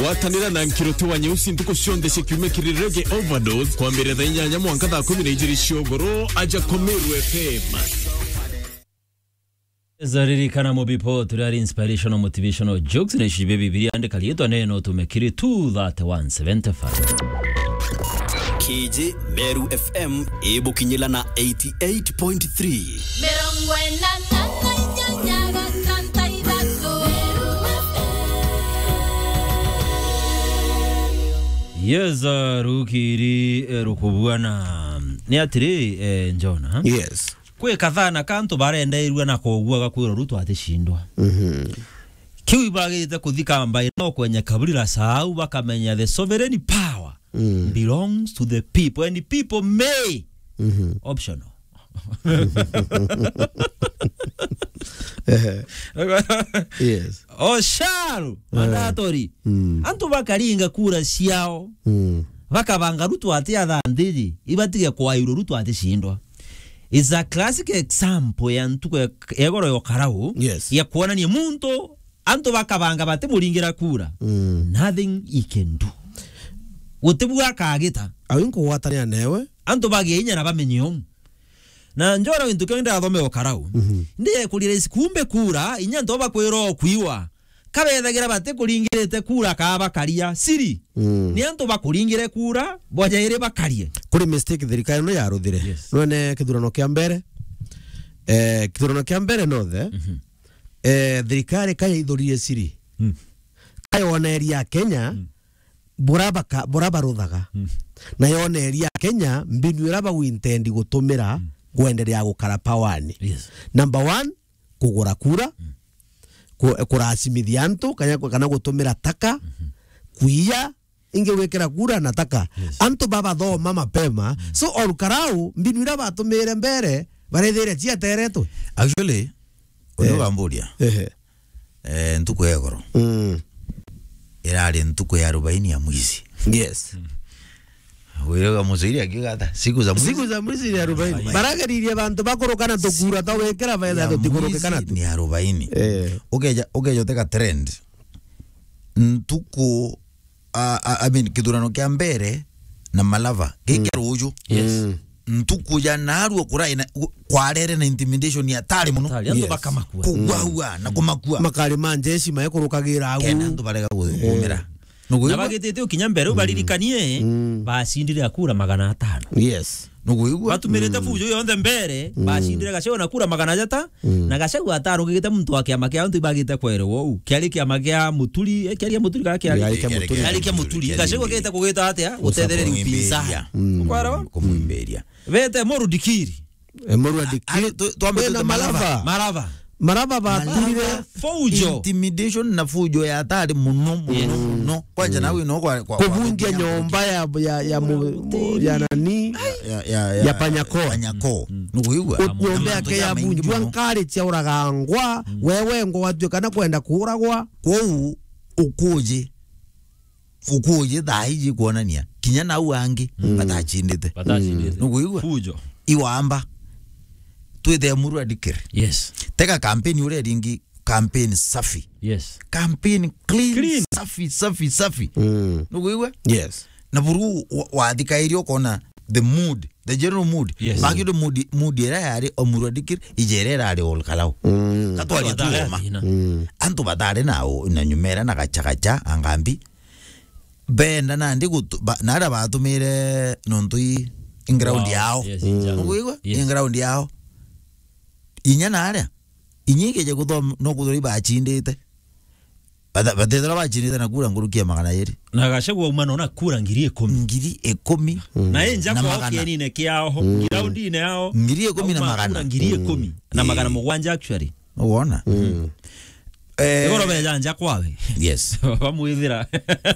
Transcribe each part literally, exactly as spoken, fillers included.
Gwatanira na Nkiruti wa Nyeusi ntuku cionthe cia kiumia kiri Reggae Overdose, kwambiriria thaa inyanya mwanka thaa kumi na ijiri cia ugoro, aja Komeru F M. Zaririkana mu bipo, turi ari inspirational, motivational jokes, na ici bia Bibilia, andika riitwa neno, tume kiri two thirty-one seventy-five. K J Meru F M ibukinyila na eighty-eight point three. Mirongo ina na inyanya gatanta ithatu. Yes, uh, rukiri, eh, rukubuana. Ni atiri, eh, Njona. Yes. Kwi kathana ka antu barendeirua na kogua gakwirwa Ruto aticindwa. Mhm. Kiu ibagirite kuthi kamba ino kwenye kaburi la Sahau, bakamenya the sovereign power Mm. belongs to the people and people may Mhm. optional. Eh. Yes. Osharu, Eh. mandatori. Mm. Antu bakaringa kura ciao. Mm. Bakabanga Ruto ati athandiri, ibatige kwairwo Ruto aticindwa. Is a classic example ya ntuku ya, ya igoro ya ukarau, Yes. ya kuonania muntu, antu bakabanga batimuringira kura. Mm. Nothing he can do. Gutibua akagita. Au nkugwatanira newe. Antu bagie inya na bamenye uu. Na Njora gintu kiu ndathome ukarau. Mhm. Ndiye kuri rais kumbe kura, inya antu bakwirwa okwiwa. Kabethagira batikuringirite kura kaa bakaria siri. Mm. Ni antu bakuringire kura, boja iri bakarie. Kuri mistake thirikari ino yaruthire. Yes. Nwene kithurano kia mbere, eh, kithurano kia mbere nothe, Mhm. eh, thirikari kayaithurire siri. Mm. Kayoneria Kenya, Mm. bura baka-, bura baruthaga. Mm. Na yoneria Kenya mbinu ira bagwintendi gutumira Mm. kwenderea gukara pawani. Yes. Number one, kugura kura, Mm. ku-, kuracimithia antu, kana, kana gutumira taka, Mhm. kuiya, ingi gwikira kura na taka. Yes. Antu babathoma mapema. Mm. So, orukarau, mbinu ira batumire mbere, barethire ciateretwe. Actually, uyu Eh. gamburia. Ehe. Eh, ntuku ya igoro. Mm. Irari ntuku ya arobaini ya mwizi. Yes. Wira wa Muciri akiuga ata? Siku za mwizi. Siku za mwizi ni arobaini. Arobaini. Barageririe bantu bakurukana tukura twa gwikira betha Ya tutikurukikana mwizi tu. Ni arobaini. Eh. Ukeja, ukeja uteka trend. Ntuku, a, a, I mean, kithurano kia mbere na Malava. Giki Mm. ruju. Yes. Mm. Ntuku ya narua kurai na, kwarere na intimidation ya tari muno. Tari, antu Yes. bakamakua. Kugwaua na kumakua. Makari ma njeshi maekurukagira au. Kenda antu barega gu-, Eh. kumira. Nugu Na igua? bagitite ukinya mbere, u Mm. baririkanie, Mm. bacindire akura magana atano. Yes. Nugu igua? Batumirite Mm. fujo yonthe mbere, Mm. bacindire Gachagua na kura magana jata, Mm. na Gachagua atarugigite muntu wa kiama kia antu ibagite kwerwa uu. Kiari kiama kia Muturi, eh, kiari kia Muturi kana kiari? Kiari kia Muturi. Kiari kia Muturi. Gachagua kete kugita atia? Gutethereria upinzani. Mm. Ukwarawa? Kumwimbiria. Bete Murudikiri. E, Murwa Dikiri. Ari, tu-, twambe Wena tute Malava. Malava. Malava. Malava baturire Malava. Fujo. Intimidation na fujo ya hatari muno, muno, Yes. muno. Kwanja Mm. nawe no kwa, kwa, kwa Kuvunjia kukinya nyomba ya, ya, ya mu-, Hoteli. ya nani? Ya, ya, ya, Ya Panyako. Panyako. Mm. Nukuigua? Nyomba yake ya bunjwa, ngari cia uragangwa, Mm. wewe ngo watuika na kwenda kuragwa. Kwou ukuji. Ukuji thaa iji kuonania kinya nau angi Mm. batachindite. Batachindite. Nukuigua? Fujo. Iwamba. Twithe Murwa Dikiri. Yes. Tega campaign uria ringi, campaign safi. Yes. Campaign clean, Clean. safi, safi, safi. Mm. Nukuigua? Yes. Na buru wa-, wathikairie ukona the mood, the general mood. Yes. Baki the mood, mood ira yari o Murwa Dikiri, ije ira irari Ol Kalou. Mm. Katwari Antu batari tuoma. athina. Mm. Antu batari na o-, na nyumera na gachagacha, angambi. Benda nandi gutu-, ba-, na aria batumire nontu i, i ground Wow. yao. Yes, Mm. exactly. Nukuigua? Yes. I ground yao. Inya na aria. Inya ikeje kuthoma, no kuthoma ibachindite. Bata-, batethira bachindite na kura nkuruki ya magana jeri. Na Gachagua auma nona kura ngiri ikumi. Ngiri ikumi Mm. Na enja na kwa magana. Kienine kiao, Mm. groundine yao. Ngiri ikumi na Auma magana. kura ngiri ikumi Mm. na magana Ii. mugwanja actually. Nuwona? Mm. Eh, Igoro beja nja kwawe. Yes. Bamwithira.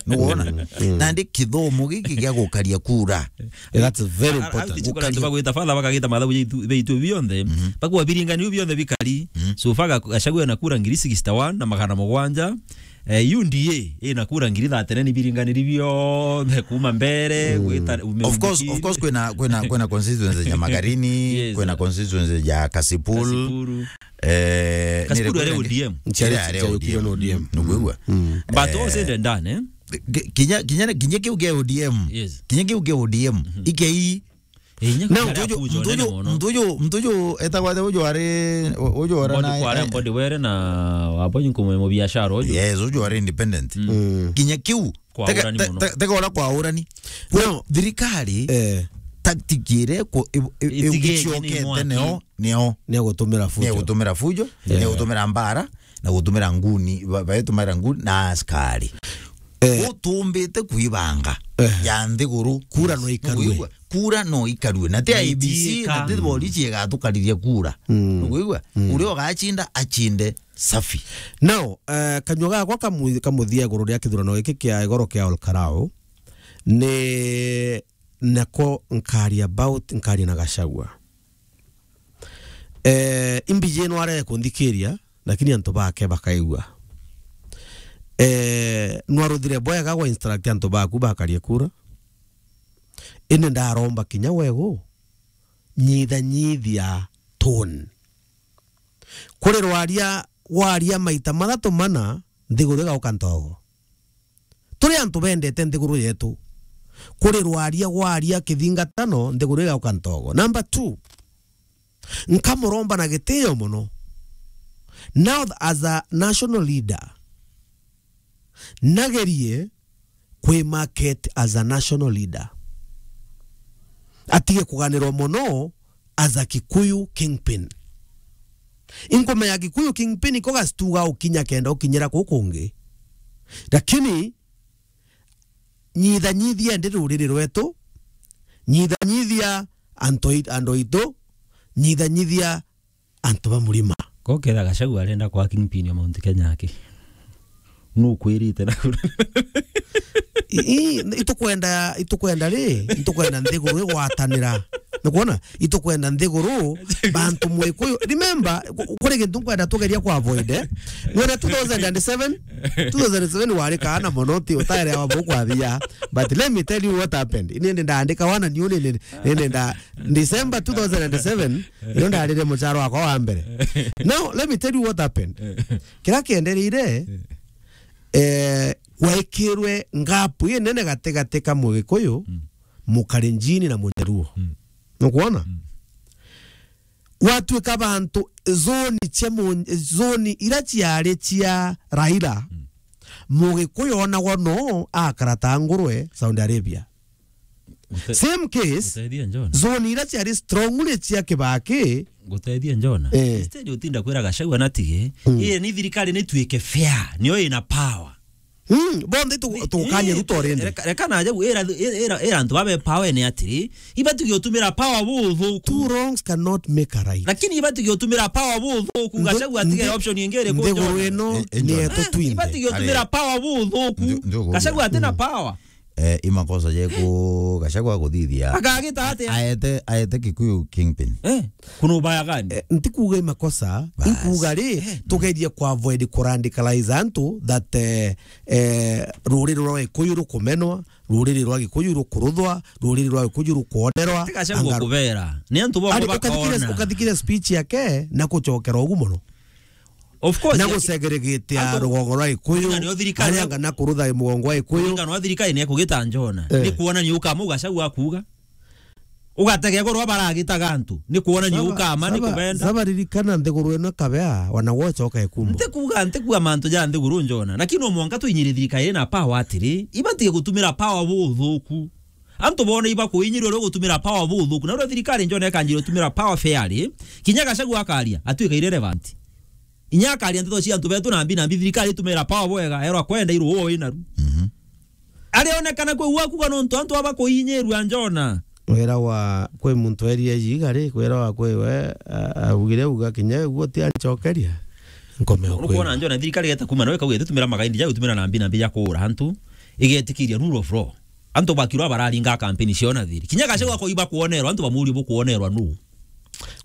Nuwona? Mm. Nandi kithomo giki gia gukaria kura. That's very Ara-, important. Ara-, Gukaria. Bagwita father bakagita mathabu jaitu, baitu bionthe. Mhm. Bakwa biringani bionthe bikari. Mhm. So far Ga-, Gachagua ena kura ngiri sixty-one na magana mugwanja. Eh, U D A ina kura ngiri thirty-nine biringaniri bionthe kuma mbere, Mm. gwita Of course, of course, kwina, kwina, kwina constituency ya Magarini, Yes. kwina constituency ya Kasipul. Kasipul. Eh, Kasipul nire ari kwina O D M. Nchari Nchari ari O D M. O D M. Nukwigua? Mm. But Eh, all said and done, eh? Ki-, kinya, kinya, kinya kiu kia O D M. Yes. Kinya kiu kia O D M. Mhm. Ikei. Eh, inya Now, kuria mtu uju, kuja mtu unene uju, mono. Mtu uju, mtu uju etagwa atia uju ari, u-, uju ora Mbodi na, kwa aria eh, Mbodi were na wabo inkume mu biashara uju. Yes, uju ari independent. Mm. Mm. Kinya kiu. Kwa tega, urani te-, mono. Te-, tega ora kwa urani. No. Thirikari, eh, tactic ire ku-, i-, i-, Itige igiciokete ni mwaki. Neo, neo. Ni gutumira fujo. Ni gutumira fujo, yeah, ni gutumira mbara, na gutumira nguni, ba-, baetumira nguni na askari. Eh. Gutumbite kuibanga, eh, ya nthiguru. Kura no ikarue. Nukwigua? Kura no ikarue. Na ti I E B C, na ti borichi igatukariria kura. Mm. Nukwigua? Mm. Uria ugacinda, acinde safi. Now, eh, kanyua gakwa kamu-, kamuthia iguru ria kithurano giki kia igoro kia Ol Kalou, ni nako nkaria about, nkaria na Gachagua. Eh, imbiji no arege kunthikiria, lakini antu bake bakaigua. Eh, nwaruthire bwega gwa instruct antu baku bakarie kura. Indi ndaromba kinya wegu, nyitha nyithia tone. Kuri rwaria gwaria maita mathatu mana, nthiguru igauka ntogo. Turi antu bendete nthiguru yetu. Kuri rwaria gwaria kithingatano, nthiguru igauka ntogo. Number two, nkamuromba na gitio mono. Now as a national leader, nagerie kwi market as a national leader. Atige kuganirwa mono as a Kikuyu kingpin. Inkumenya Kikuyu kingpin iko gastuga ukinya kenda ukinyira kuu kungi. Lakini nyitha nyithia ndi ruriri rwetu, nyitha nyithia antu ai-, andu aitu, nyitha nyithia antu ba murima. Ko ketha Gachagua arenda kwa kingpin ya Mount Kenya aki. Nukwirite na I-, i-, itukwenda, itukwenda ri, itukwenda nthiguru igwatanira. Nukwona? Itukwenda nthiguru, bantu Mwikuyu. Remember, ku-, kuri gintu nkwenda tugeria ku avoid, eh? Wena two thousand and seven, two thousand and seven wari kaana mono, ti utaere wa bukwathia. But let me tell you what happened. Ini ndi ndaandika wana niu ni, ni, ni, ni nda, December two thousand and seven, ino ndarire mucharo wakwa wa mbere. Now, let me tell you what happened. Kira kiendereire, eh, gwaikirwe ngapu inene gatigati ka Mugikuyu, mm, Mukalenjini na Munyaruo. Mm. Nukwona? Mm. Gwatuika bantu zoni cia mu-, zoni ira ciari cia Raila, mm, Mugikuyu onagwa no akara ta ngurwe Saudi Arabia. Gute-, same case, guteithia Njona. Zone ira ciari strongly cia Kibaki. Guteithia Njona. Eh. Instead utinda kwira Gachagua na tige, mm, ii ni thirikari ni tuike fair, niyo ina power. Mm, bonthe tu-, ni-, tukanye ni-, Ruto rindi. Reka, reka na Gachagua, ira, ira, ira antu babe power ni atiri, ibati gutumira power buthuku. Two wrongs cannot make a right. Lakini ibati gutumira power buthuku, ndo-, Gachagua atige nthi-, option ingi iriku nthiguru Njona. Ino, eh, eh, ni Njona, yetu, eh, twinthe. Ibati gutumira power buthuku. Ndu-, ndu-, Gachagua atina power. Eh, i makosa jeku Gachagua kuthithia. Akagita atia? Aete, aete Kikuyu kingpin. Eh, kuna ubaya gani? Eh, ntikuuga i makosa, bas, inkuuga ri, eh, tugerie ku avoid ku radicalize antu that, eh, eh, ruriri rwa Gikuyu rukumenwa, ruriri rwa Gikuyu rukuruthwa, ruriri rwa Gikuyu rukuonerwa. Ti Gachagua kubera. Ni antu bamwe ari, ukathikire, bakaona. Ukathikire speech yake na kuchokera ugu mono. Of course, na ya-, gusegeregetea antu rugongo rwa Gikuyu, kuringana na thirikari, aria angana kurutha mugongo wa Gikuyu. Kuringana na thirikari ni ekugita Njona. Eh. Ni kuonania ukama u Gachagua akuuga. Ugatega igoro baragitaga antu. Ni kuonania ukama, ni kubenda. Saba ririkana nthiguru ino kabea, wana gwochoka ikumbo. Ntikuuga, ntikuuga mantu ja nthiguru Njona. Lakini no mwanka twinyire thirikari na power atiri, ibatige gutumira power buthuku. Antu boona ibakuinyirwe ri gutumira power buthuku. Na uria thirikari Njona ikanjire gutumira power fairly, kinya Gachagua akaria, atuika irrelevant. Inya akaria nteto cia antu betu na mbi na mbi, thirikari itumira power bwega, erwa kwenda iru uo inaru. Mhm. Arionekana kwi gwaku kana untu antu aba kuinyirua Njona. Wira wa kwi muntu eria ijiga ri, wira wa kwi we, a-, augire uga kinya uguo ti anchokeria. Nkome ukwira. Urukuona Njona thirikari geta kuma nawe kauge tutumira magaindi ja gutumira na mbi na mbi ja kuura antu, igetikiria rule of law. Antu bakirwa bararinga kampeni ciao na thiri. Kinya Gachagua koiba kuonerwa, antu bamurie bukuonerwa nu?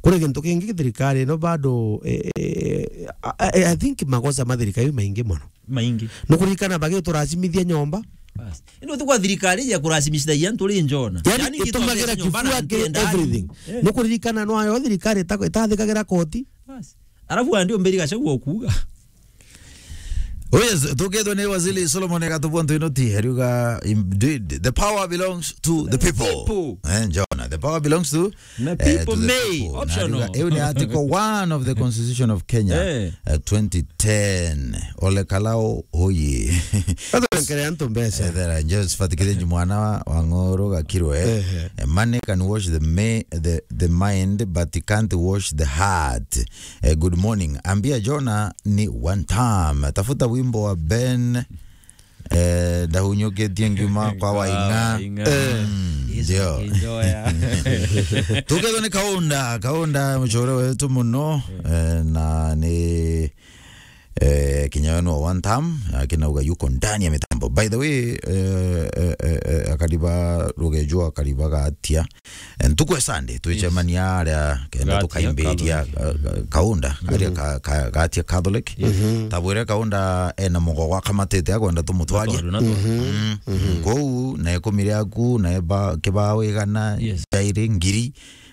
Kuri gintu kingi thirikari ino bado, eh, eh, I, I, I think makosa ma thirikari maingi mono. Maingi. Nukuririkana bagituracimithia nyomba? Bas. Ino ti kwa thirikari ya kuracimithia antu ri Njona. Yani, yani itumagira nyomba na kifua ke ndani. Everything. Eh. Nukuririkana nwayo thirikari ita-, itathikagira koti? Bas. Alafu andi umbiri Gachagua ukuga. Oh yes, tukethwa ni Waziri Solomon Gatubua Ntuinoti, ariuga, "Indeed, the power belongs to the people." People. Eh, John, the power belongs to, Na eh, people to the may, people. Na optional. Ariuga, iu ni article one of the Constitution of Kenya, Eh. eh, twenty ten. Ole Kalao, oye. Kata nkere antu mbeca. Eh, there are just fatikire mwana wa, wa Ng'oro Gakirwe. Ehe. Eh, money can wash the ma-, the, the mind, but it can't wash the heart. Eh, good morning. Ambia Jonah ni one time. Tafuta wimbo wa Ben, eh, ndahunyukitie ngiuma kwa Waing'a. Waing'a. Eh. Mm, Yesu ndio. Akinjoya. Tukethwa ni Kaunda, Kaunda mucore wetu muno, eh, na ni, eh, kinya we no one time, lakini auga yuko ndani ya mitambo. By the way, eh, eh, eh, eh, akariba rugejwa, akariba gatia. Eh, ntuku ya Sunday, twicemania aria kenda Gatia tukaimbiria, Catholic. eh, eh, Kaunda, aria ka, ka, Gatia Catholic. Tabwire Kaunda ena mugogo akamatite akwenda tumutwarie. Natwaru, natwaru. Mm. Kou, na ikumi riaku, na eba, kibao igana, Yes. jairi, ngiri,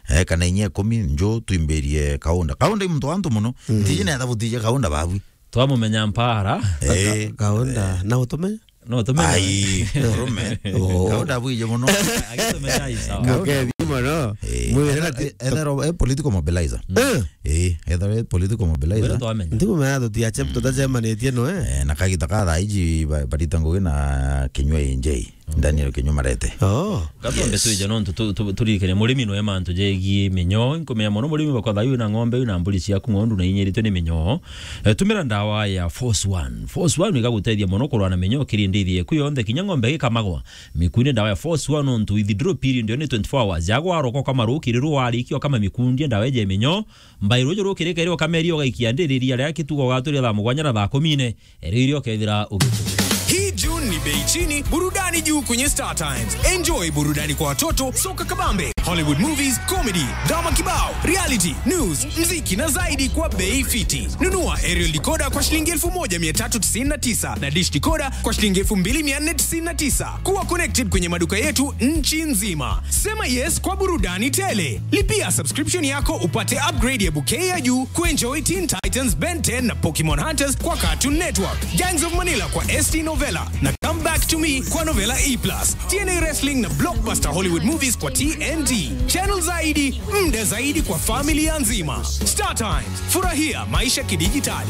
eh, kana inya ikumi, nju twimbirie Kaunda. Kaunda i muntu wa antu muno. Ntiji netha butije Kaunda babwi. Twamumenya mpara. Eh. Ka-, Kaunda, na utume? No, tumenye. Ai, murume. Oh. Kaunda bwije muno. Agitumenya i sawa. Mukethi muno. Eh, Mwire etha-, na ti-, etha ro-, eh, political mobilizer. Eh. Eh, etha ro-, eh, political mobilizer. Mwire twamenya. Ntikumenya tutiache-, tutacemanitie no, eh? Eh, na kagita ka thaa iji ba-, barita ngugi na Kinyua A J. Daniel Kinyua Marete. Oh. Gatombe Yes. twije nontu tu-, tu-, turirikane murimi noe mantu jegie minyoo. Nkumenya mono murimi bakwa thayu na ng'ombe, na mburi ciaku ng'ondu na inyiritwe ni minyoo. Eh, tumira ndawa ya Force One. Force One igagutethia mono kurwana minyoo kiri ndithi yeku yonthe, kinya ng'ombe gikamagwa. Mikuni ndawa ya Force One nontu withdrawal period yo ni twenty-four hours. Yagwa roko kama rukiri rwarikia kama mikundie ndawa eje minyoo. Mbairo juru kirika iri ukameria ugaikia ndiriria ria kitugo ugaturia thaa mugwanja na thaa kumi ine. Eri irio ukethira ugituria. Hii June ni bei chini, burudani juu kwenye Star Times. Enjoy burudani kwa watoto, soka kabambe, Hollywood movies, comedy, drama kibao, reality, news, mziki na zaidi kwa bei fiti. Nunua aerial decoder kwa shilingi elfu moja mia tatu tisini na tisa na dish decoder kwa shilingi elfu mbili mia nne tisini na tisa. Kuwa connected kwenye maduka yetu nchi nzima. Sema yes kwa burudani tele. Lipia subscription yako upate upgrade ya bouquet ya juu kuenjoy Teen Titans, Ben ten na Pokemon Hunters kwa Cartoon Network, Gangs of Manila kwa S T Novella na Come Back to Me kwa Novella E plus, T N A Wrestling na blockbuster Hollywood movies kwa T N T. Channel zaidi, muda zaidi kwa familia nzima. Star Times, furahia maisha kidijitali.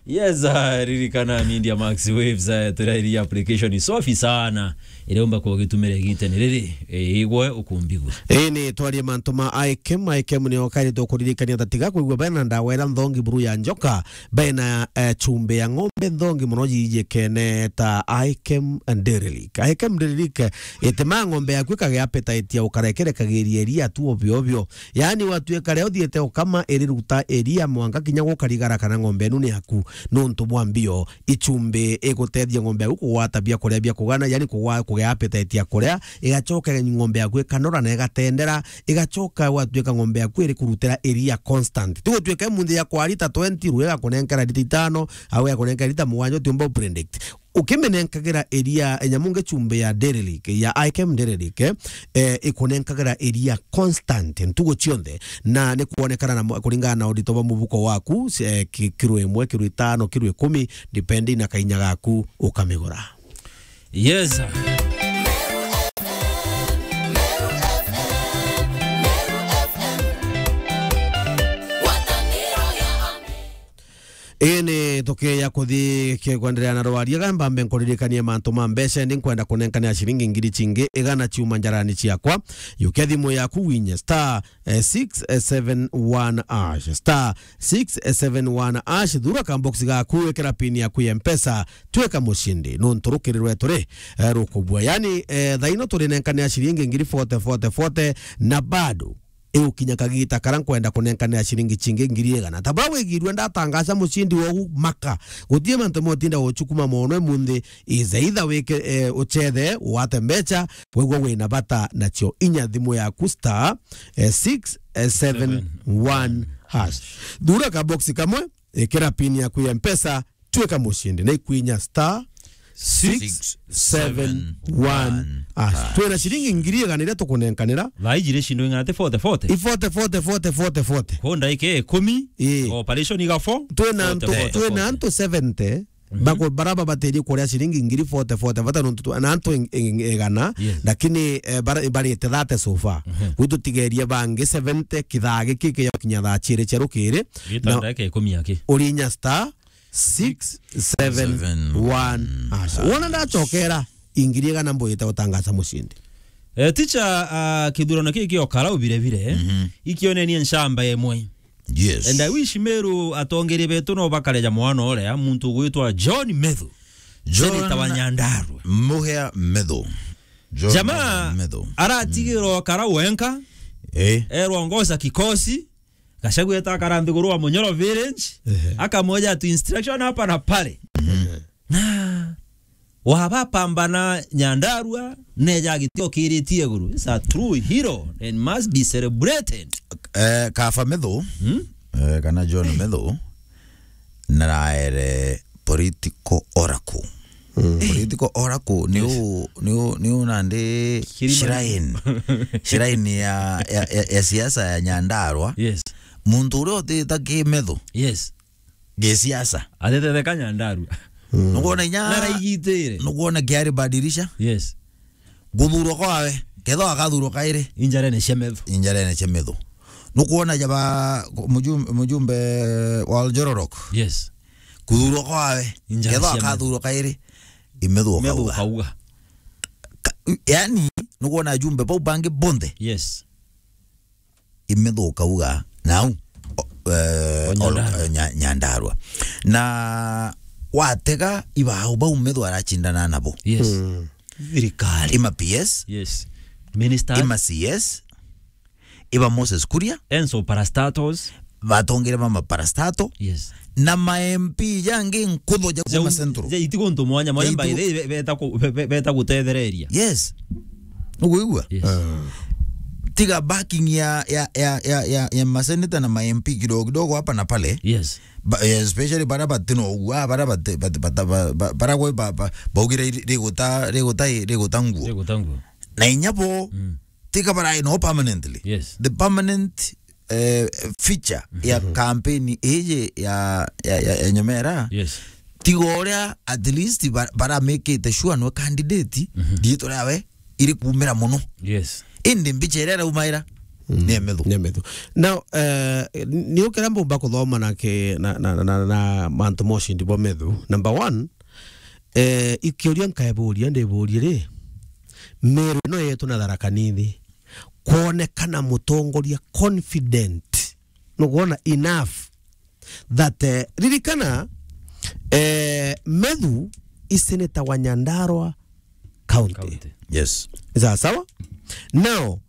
Yes, ah, ririkana Media Max Waves, eh, turairi application safi sana. Iraumba kwa gitumire gitene riri, eh, igwe ukumbigwe. Ii ni twarie mantu ma Ikem. Ikem ni okari tukuririkania tatiga kwigua bena ndawa ira nthongi buru ya njoka, bena, eh, chumbe ya ng'ombe nthongi muno jijikene ta Ikem Dairy Lick. Ikem Dairy Lick, eh, itema ng'ombe yaku ikagea appetite ya ukarekerekagiria iria tu obio obio. Yaani, watuika ria uthiite ukama iriruta iria mwanka kinya gukarigara kana ng'ombe enu ni yaku. Nontu bwa mbio, ichumbi igutethia ng'ombe yaku kugwata biakuria bia kugana, yaani kugwa-, kugea appetite ya kuria, igachoka ng'ombe yaku ikanora na igatendera, igachoka gwatuika ng'ombe yaku iri kurutira iria constant. Ti gutuika imunthi ya kwa lita twenty, rue igakunenkera lita itano, au igakunenkera lita mugwanja, utiumba upredict. Ukimenenkagira iria, nyamu ngi chumbi ya Dairy Lick, ya Ikem Dairy Lick, eh, ikunenkagira iria constant ntugu cionthe, na ni kwonekana na mu-, kuringana na urito bwa mubuko waku, eh, ki-, kiro imwe, kiro itano, kiro ikumi, depending na kainya gaku, ukamigura. Yes, sir. Ii ni tukiya kuthi ki-, kwenderea na rwaria, ga mbambe nkuririkanie mantu ma mbeca, ndi nkwenda kunenkania ciringi ngiri cingi igana ciuma njarani ciakwa. Yukia thimu yaku winye star, eh, six seven one hash, star six seven one hash, thura ka box gaku, ikira pin yaku ya Mpesa, twika mucindi. Nontu rukiri rwetu ri, eh, rukubua. Yaani, eh, thaino turinenkania ciringi ngiri forty, forty, forty, na bado igukinya kagita karia nkwenda kunenkanira ciringi cingi ngiri igana. Ta buria wigirue ndatangaca mucindi wogu maka. Gutie mantu motinda gucukuma mono imunthi, is either wike, eh, uchethe, wate mbeca, wigua wina bata nacio. Inya thimu yaku star, eh, six seven one hash. Thura ka box kamwe, ikira pin yaku ya Mpesa, twika mucindi. Na ikwinya star six seven one. Ah, twina ciringi ngiri igana iria tukunenkanira. Thaa iji ri cindo ing'ana ti forty, forty? I forty, forty, forty, forty, forty. Ko ndaika ikumi, ii, operation iga four, twina forty, antu, forty, twina forty. Antu seventy, mhm, bako-, bara babatirie kuria ciringi ngiri forty, forty, bata nontu tu-, na antu ing-, ing-, igana, yes, lakini, eh, bara-, barite thirty so far. Mhm. Gwitu tigerie bangi seventy kithaa giki kinya thaa ciiri cia rukiri. Gita na ndaika ikumi aki. Urinya star six seven one. Asha. Wona ndacokera, ingiri igana mbwite gutangaza mucindi. Eh, teacher, ah, kithurano kii kio Karau bire bire, mhm, ikionenie nchamba imwe. Yes. And I wish Meru atongeria betu no bakareja mwana uria, muntu ugwitwa John Methu. John Senator wa Nyandarua. Muhea Methu. John Jamaa Methu. Aratigirwo Karau wenka. Eh. Erwa ongoza kikosi. Gachagua eta akara nthiguru wa Munyoro village, ehe, akamwija tu instruction hapa na pale. Mhm. Na waba pambana Nyandarua, neja agitiokiritie iguru. It's a true hero and must be celebrated. Eh, Kaba Methu, hmm? Eh, kana John Methu, naraere political oracle. Mm. Political oracle ni, yes, u, ni u, ni u nandi kirima, shrine. Shrine ya, ya, ya, ya siasa ya Nyandarua. Yes. Muntu uria utita ki Methu. Yes. Gi siasa. Atitetheka Nyandarua. Mm. Nukwona inya, naraigitire. Nukwona kiari badirisha. Yes. Guthurwa kwawe, kethwa akathurwa kairi. Injarene cia Methu. Injarene cia Methu. Nukwona jaba mujum-, mujumbe wa Oljororok. Yes. Kuthurwa kwawe, injarene kethwa cia Methu. Akathurwa kairi. I Methu. Methu ukauga. Ukauga. Ka-, yani, nukwona ajumbe bau bangi bonthe. Yes. I Methu ukauga, nau, o-, eh, o Nyandarua. Nya-, Nyandarua. Na watega ibao bau Methu aracindana nabo. Yes. Mm. Thirikari. Ima P S. Yes. Minister. Ima C S. Iba Moses Kuria. Enso parastatals. Batongere mama parastato. Yes. Na ma M P jangi nkutho ja kuma Central. Ja itigo ntu mwanya mwanya. Ja by the way, be-, beta ku-, be-, be-, beta gutethereria. Yes. Nukuigua? Yes. Ah. Tiga backing ya, ya, ya, ya, ya, ya maseneta na ma M P kidogo kidogo hapa na pale. Yes. Ba-, eh, especially bara batino ugua, bara bate-, bate-, bata-, ba-, ba-, bara gwe ba-, ba-, baugire ri-, riguta, riguta, riguta nguo. Riguta nguo. Na inya bo, mm, tiga bara no permanently. Yes. The permanent, eh, feature ya, mhm, campaign iji ya, ya, ya, ya Nyamera. Yes. Tiga uria at least ba-, bara make it sure no candidate, mhm, riitwa riawe iri kuumira mono. Yes. Indi mbicha iria iraumaira, mm, ni ya Methu. Ni ya Methu. Now, eh, ni ukira mbumba kuthoma na ki-, na, na, na, na, na mantu moshi ndi bo Methu. Number one, eh, ikiuria nkaeburia, ndiburie ri, Meru ino yetu na Tharaka Nithi, kwonekana mutongoria confident, nukwona, enough that, eh, ririkana, eh, Methu i senator wa Nyandarua County. County. Yes. Sawa sawa? Now,